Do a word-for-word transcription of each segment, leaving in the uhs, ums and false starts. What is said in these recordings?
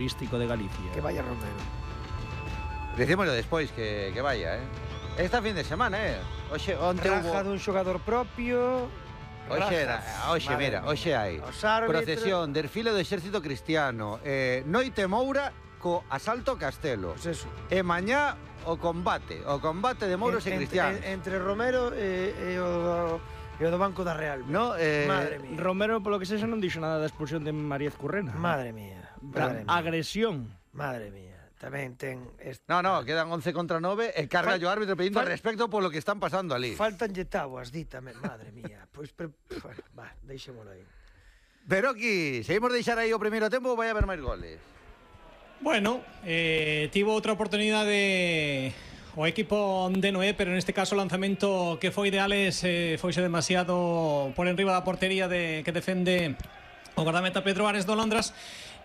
turístico de Galicia. Que vaya Romero. Dicímoslo despois que, que vaya, eh. Esta fin de semana, eh. Oxe, onte Raja hubo... dun xogador propio. Oxe, era, oxe, mira, oxe hai procesión, desfile do exército cristiano, eh, noite moura co asalto Castelo. Pues eso. E mañá o combate, o combate de mouros en, e cristianos. En, entre Romero e, e, o, e o do Banco da Real. No, eh, Madre mía. Romero, polo que sexa, non dixo nada da expulsión de María Currena. Madre mía. Madre mía. Agresión. Madre mía. Tamén ten... Est... No, no, quedan once contra nove e carga Fal... o árbitro pedindo fal... respecto polo que están pasando ali. Faltanlle tabuas, di tamén, madre mía. Pois, pues, pre... va, deixémolo aí. Pero aquí, seguimos deixar aí o primeiro tempo ou vai haber máis goles? Bueno, eh, tivo outra oportunidade o equipo de Noé, pero neste caso o lanzamento que foi de Alex eh, foise demasiado por enriba da portería de, que defende o guardameta Pedro Ares do Londras.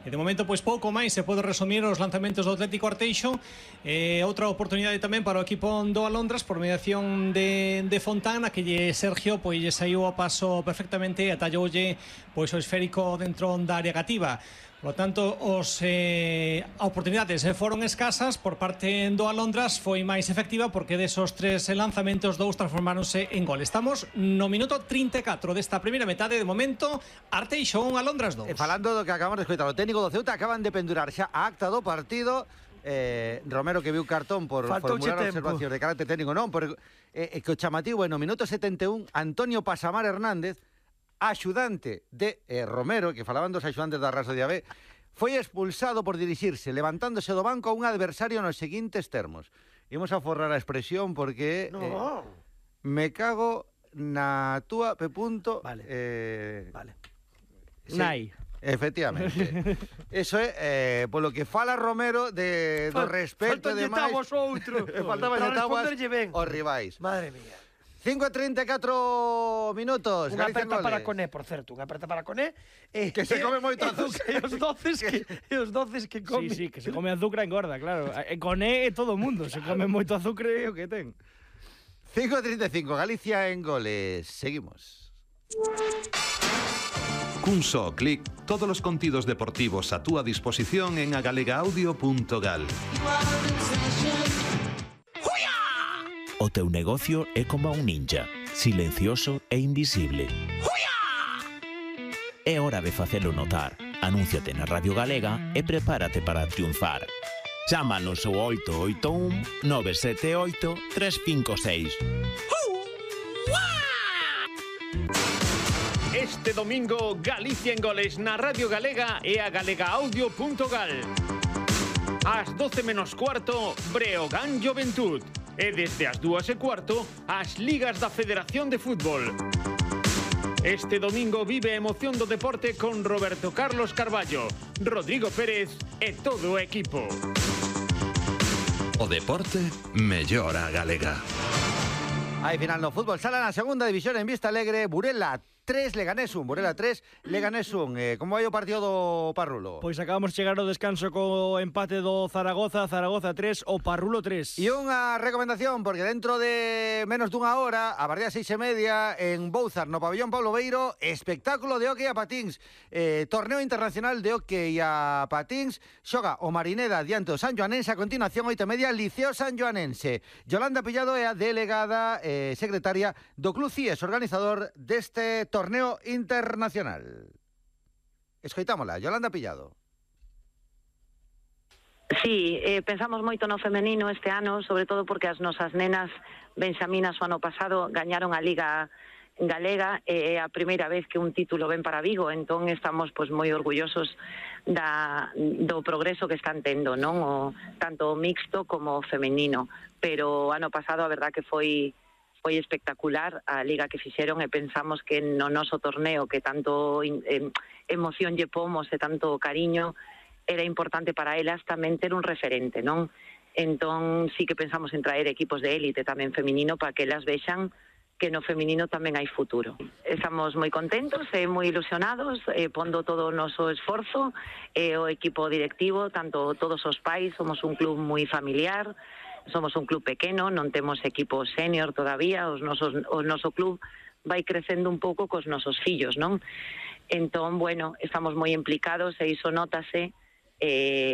E de momento, pois pouco máis se pode resumir os lanzamentos do Atlético Arteixo. eh, Outra oportunidade tamén para o equipo do Alondras por mediación de, de Fontana, que lle Sergio pois lle saiu a paso perfectamente e atalloulle pois o esférico dentro da área cativa. Por lo tanto, os eh, oportunidades foron escasas por parte do Alondras, foi máis efectiva porque desos tres lanzamentos dous transformáronse en gol. Estamos no minuto trinta e catro desta primeira metade. De momento, Arteixo un, Alondras dous. E falando do que acabamos de escoitar, o técnico do Ceuta acaban de pendurar xa a acta do partido. eh, Romero que viu cartón por formular observacións de carácter técnico, non, por, eh, que o chamativo, no minuto setenta e un, Antonio Pasamar Hernández, axudante de eh, Romero, que falaban dos axudantes da Raso de A B, foi expulsado por dirixirse levantándose do banco a un adversario nos seguintes termos. Imos a forrar a expresión porque no. eh, me cago na túa P. Vale. Eh, vale. Sí, Nai. efectivamente. Eso é eh, polo que fala Romero de do respeto de máis. Faltan outro. Faltaban tabuas os rivais. Madre mía. cinco e treinta e catro minutos. Unha aperta para Coné, por certo, unha aperta para Coné. Eh, que se come moito azúcar. E os doces que, e os doces que come. Sí, sí, que se come azúcar engorda, claro. E Coné é todo o mundo, se come moito azúcar é o que ten. cinco e trinta e cinco, Galicia en goles. Seguimos. Cun só clic, todos os contidos deportivos a túa disposición en agalega-audio punto gal. O teu negocio é como un ninja, silencioso e invisible. É hora de facelo notar. Anúnciate na Radio Galega e prepárate para triunfar. Chámanos ao oito oito un, nove sete oito, tres cinco seis. Este domingo, Galicia en goles na Radio Galega e a galega-audio punto gal. Ás doce menos cuarto, Breogán Juventud. E desde as dúas e cuarto, as ligas da Federación de Fútbol. Este domingo vive a emoción do deporte con Roberto Carlos Carballo, Rodrigo Pérez e todo o equipo. O deporte mellora a galega. Hai final no fútbol sala na segunda división en Vista Alegre, Burela tres, Leganés un, Burela tres, Leganés un. Eh, como vai o partido do Parrulo? Pois acabamos de chegar ao descanso co empate do Zaragoza, Zaragoza tres, o Parrulo tres. E unha recomendación, porque dentro de menos dunha hora, a partir das seis e media, en Bouzar, no pabellón Pablo Beiro, espectáculo de hockey a patins, eh, torneo internacional de hockey a patins, xoga o Marineda diante do San Joanense, a continuación, oito e media, Liceo San Joanense. Yolanda Pillado é a delegada eh, secretaria do Club C I E S, organizador deste torneo internacional. Escoitámola, Yolanda Pillado. Sí, eh, pensamos moito no femenino este ano, sobre todo porque as nosas nenas benxaminas o ano pasado gañaron a Liga Galega e é a primeira vez que un título ven para Vigo, entón estamos pois moi orgullosos da, do progreso que están tendo, non? O, tanto o mixto como o femenino, pero o ano pasado a verdad que foi foi espectacular a liga que fixeron e pensamos que no noso torneo que tanto eh, emoción lle pomos e tanto cariño era importante para elas tamén ter un referente, non? Entón sí que pensamos en traer equipos de élite tamén feminino para que elas vexan que no feminino tamén hai futuro. Estamos moi contentos e moi ilusionados, eh, pondo todo o noso esforzo, e eh, o equipo directivo, tanto todos os pais, somos un club moi familiar, somos un club pequeno, non temos equipo senior todavía, os nosos, o noso club vai crecendo un pouco cos nosos fillos, non? Entón, bueno, estamos moi implicados e iso nótase eh,